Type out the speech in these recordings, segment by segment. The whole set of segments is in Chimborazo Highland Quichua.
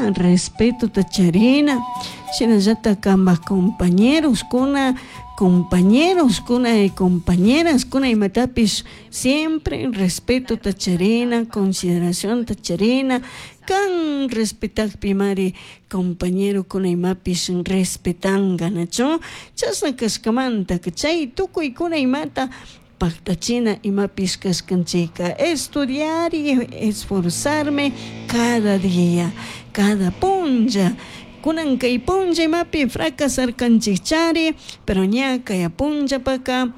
Respetana, respetota charina, shinallatak kanpak compañeroskuna, compañeroskuna y compañeraskuna imatapish siempre respetota charina, consideracionta charina, kan respetakpimari compañerokuna imapish respetanga, nachu? Chashna kashkamanta chay tukuykuna imata paktachina imapish kashkanchika, estudiar y esforzarme cada día, cada punlla, kunan kay punlla imapi fracasarkanchikchari, pero ña kaya punllapaka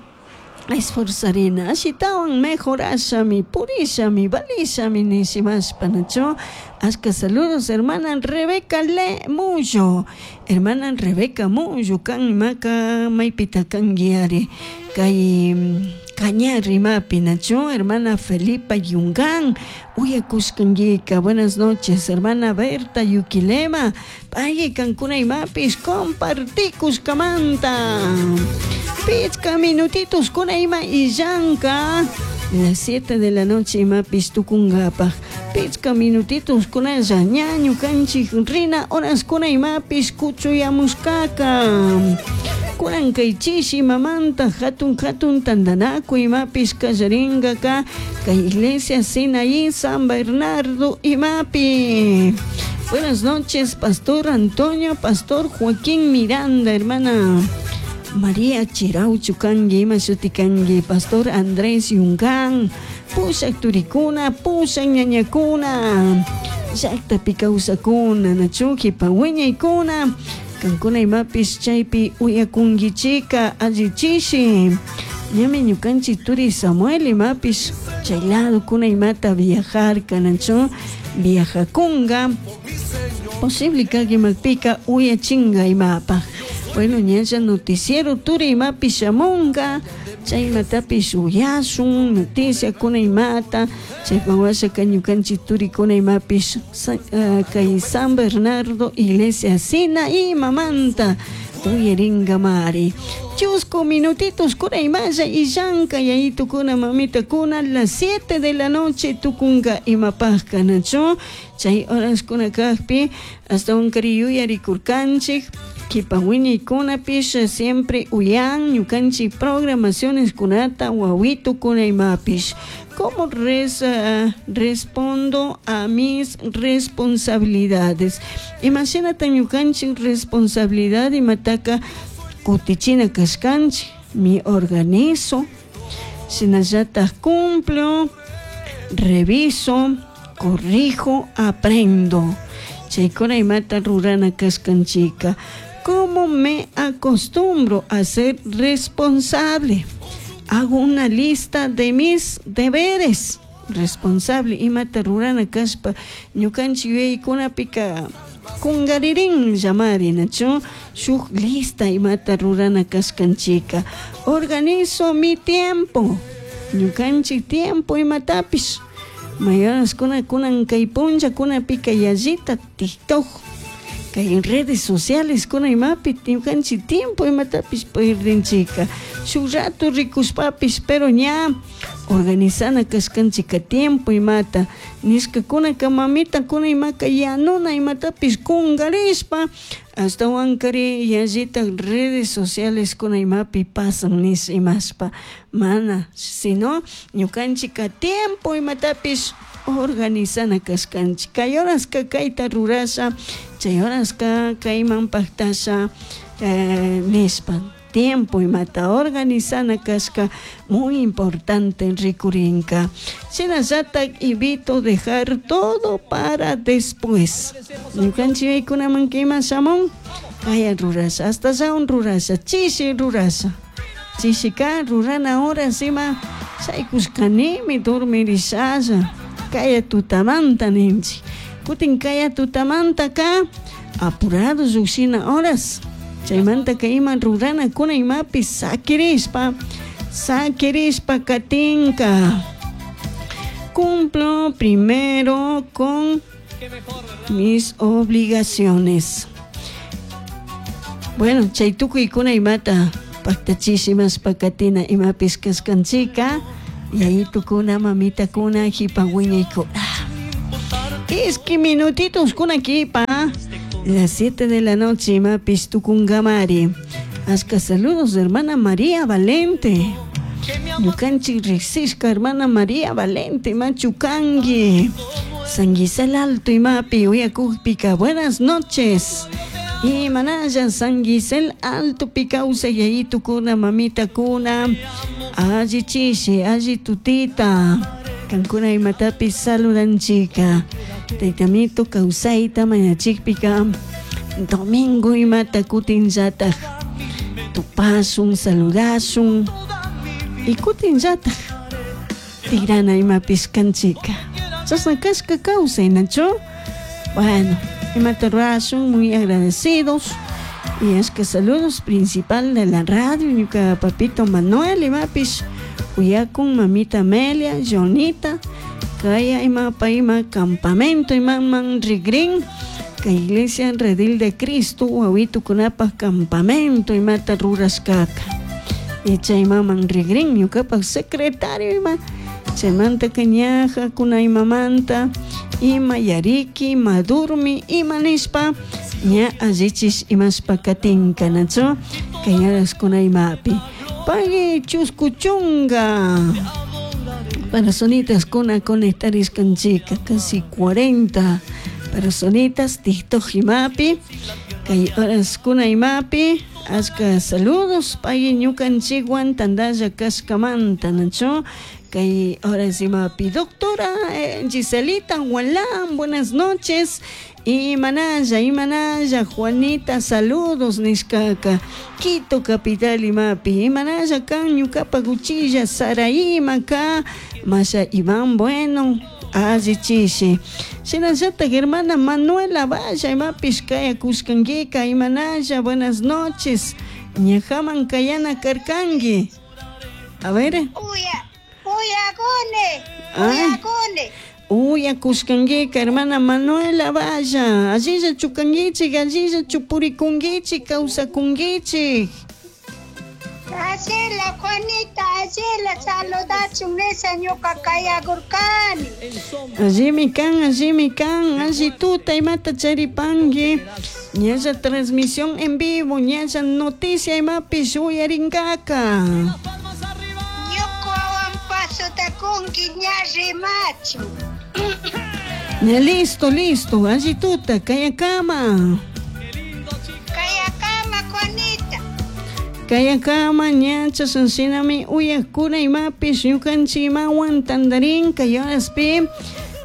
esforzarina, ashitawan mejorashami, purishami, valishami nishimashpa, nachu? Ashka saludos hermana Rebeca Le Mullo, hermana Rebeca Mullo, kan imaka maypita kanguiari, kay Cañar imapi, nachu? Hermana Felipa Yungán, uyakushkanguika, buenas noches, hermana Berta Yuquilema, pay kankuna imapish compartikushkamanta. Pichka minutitos kuna ima illanka, las 7 de la noche imapish tukunkapaj, pichka minutitos kunalla ña ñukanchik rina horas kuna imapish kuchuyamushkaka. Kunan kay chishi mamanta hatun hatun tantanakuy imapish kallaringaka kay iglesia Sinaí San Bernardo imapi. Buenas noches, Pastor Antonio, Pastor Joaquín Miranda, hermana María Chirauchu kangi, ima shuti kangi, Pastor Andrés Yungán, pushak turikuna, pushak ñañakuna, llaktapi kawsakuna, nachu kipa wiñaykuna, kankuna imapish chaypi uyakunkichika allichishi. Ñami ñukanchik turi Samuel imapish chay ladokuna imata viajarka, nachu viajakunga, posible kak imapika uyachinga imapaj. Bueno, ñalla noticiero turi imapish shamunga, chay imatapish uyashun, noticiakuna imata, chaypak washaka ñukanchik turikuna imapish kay San Bernardo iglesia Sinaí mamanta uyaringamari. Chusku minutitos kuna imalla illanka yayitukuna mamitakuna las 7 de la noche tukunga imapajka, nachu? Chay horaskuna kakpi ashtawankari yuyarikurkanchik, kipa wiñaykunapish siempre uyan ñukanchik programaciones kunata wawitukuna imapish. ¿Cómo respondo a mis responsabilidades? Imashinata ñukanchik responsabilidad imataka kutichina kashkanchik, mi organizo, shinallatak cumplo, reviso, corrijo, aprendo. Chaykuna imata rurana kashkanchika. ¿Cómo me acostumbro a ser responsable? Hago una lista de mis deberes. Responsable imata rurana kashpa ñukanchik yuyaykunapika kungaririn llamari, nachu? Shuk lista imata rurana kashkanchika. Organizo mi tiempo. Ñukanchik tiempo imatapish. Mayoraskuna kunan kay punllakunapika yallita TikTok, kay redes sociales kuna imapi ñukanchik tiempo imatapish perdinchika. Shuk rato rikushpapish, pero ña organizana kashkanchika tiempo imata nishkakunaka mamitakuna imaka yanuna imatapish kungarishpa ashtawankari yallita redes sociales kuna imapi pasan nish imashpa mana, sino ñukanchika tiempo imatapish organizana kashkanchik. Kay horaska kayta rurasha, chay horaska kayman paktasha nishpa tiempo imata organizana kashka muy importante rikurinka. Shinallatak evito dejar todo para después. Ñukanchik yuyaykunaman ima shamun kaya rurasha, hasta shaun rurasha, chishi rurasha, chishika rurana horas ima shaykushkanimi dormirishalla kaya tutamanta ninchik. Kutin kaya tutamantaka apurado llukshina horas, chaymantaka ima ruranakuna imapi sakirishpa, sakirishpa katinka. Cumplo primero con mis obligaciones. Bueno, chay tukuykuna imata paktachishimashpa katina imapis kashkanchika, yayitukuna mamitakuna jipa wiñaykuna. Iski minutitos kuna kipa. Hasta las 7 de la noche imapis tukungamari. Ashka saludos hermana María Valente. Ñukanchik riqsishka hermana María Valente machukangi. San Gisel Alto imapi uyakukpika buenas noches. Y manalla San Gisel Alto kawsay yayitukuna mamitakuna alli chishi alli tutita kankuna imatapi saludanchika taytamito kawsayta mañachikpika domingo imata kutinllataj tupasun saludasun y kutinllataj tigrana imapis kanchika chashna kashka kawsay nachu bueno imata rurasun muy agradecidos. Y es que saludos principal de la radio ñuka papito Manuel imapis uyakun mamita Amelia Jonita kaya imapa ima campamento imaman rigrin kay iglesia Redil de Cristo wawitukunapaj campamento imata rurashkaka y chaymaman rigrin ñukapak secretario ima chaymantaka ñaja kuna imamanta ima yariki ima durmi ima nishpa ña allichish imashpa katinka nachu kay kuna imapi. Pagui chusku chunga personitas kuna conectarishkanchika casi 40 personitas TikTok imapi kay horas kuna imapi ashka saludos pagui ñukanchikwan tantalla kashkamanta nachu kay horas imapi. Doctora Giselita Gualán buenas noches. Imanalla imanalla Juanita saludos nishkaka Quito capital imapi. Imanalla kan ñukapa cuchilla Saraí ka Masha Iván Bueno alli chishi shinallatak hermana Manuela Valla imapish kayakushkankika imanalla buenas noches. Ñajaman kayana karkanki. A ver. Uya, uyakuni, uyakuni. Uyakushkankika hermana Manuela Valla. Allilla chukankichik allilla chupurikunkichik kawsakunkichik. Ashila Juanita, ashila saludachun nisha ñuka kayakurkani. Allimi kan, allimi kan, alli tuta imata charipanki. Ñalla transmisión en vivo, ñalla noticia imapish uyarinkaka. Ñukawan pasota kunki ña rimachu. Ña listo, listo, alli tuta, kayakama. Kayakama Juanita. Kayakama ñacha shinami uyakuna imapish ñukanchik imawan tandarin kay horaspi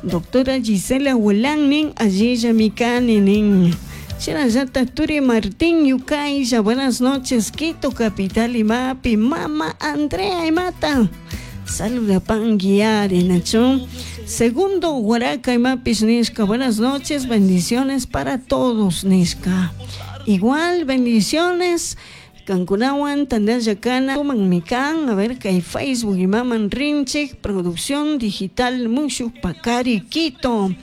doctora Gisela Gualán nin allillami kani nin. Shinallatak Turi Martín Yucaylla, buenas noches, Quito capital imapi, mama Andrea imata. Saludapanki ari nachu. Segundo Guaraca imapis nishka, buenas noches, bendiciones para todos nishka. Igual bendiciones. Kankunawan tandallakana tuman mikan a ver kay Facebook imaman rinchik producción digital Mushu Pacari Quito.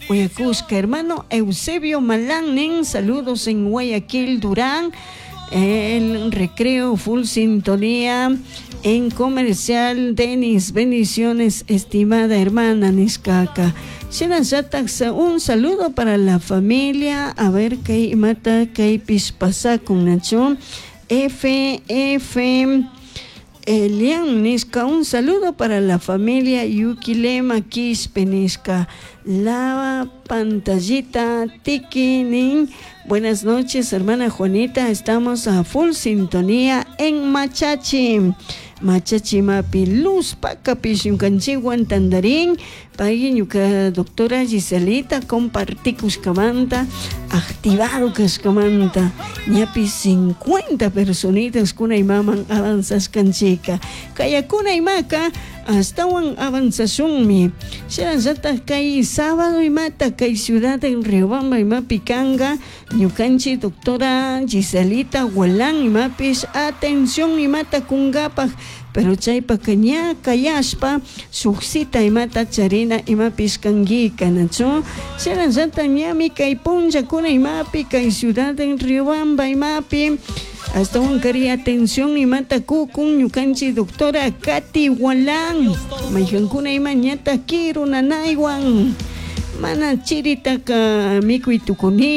Uyakushka hermano Eusebio Malán nin saludos en Guayaquil Durán. El recreo full sintonía en comercial Denis, bendiciones estimada hermana Nishkaka. Shinallatak un saludo para la familia, a ver kay imata kaypish pasakun nachu. F F Elian nishka, un saludo para la familia Yukilema Quispe nishka. La pantallita Tiki nin. Buenas noches, hermana Juanita. Estamos a full sintonía en Machachi. Machachi mapi luz pakapish ñukanchikwan tandarin. Pay ñuka doctora Giselita compartikushkamanta, activado kashkamanta. Ñapi 50 personitas kuna imaman avanzashkanchika. Kayakuna imaka astawan avanzashunmi. Shinallatak kay sábado imata kay ciudad en Riobamba imapi kanga ñukanchik doctora Giselita Gualán imapish atención imata kunkapaj pero chaypaka ña kayashpa shuk cita imata charina imapish kankika nachu shinallatak ñami kay punllakuna imapi kay ciudad en Riobamba imapi astawan kari atención imata kukun ñukanchik doctora Katy Gualán maykankuna ima ñata kiru nanaywan mana chiritaka mikuy tukuni.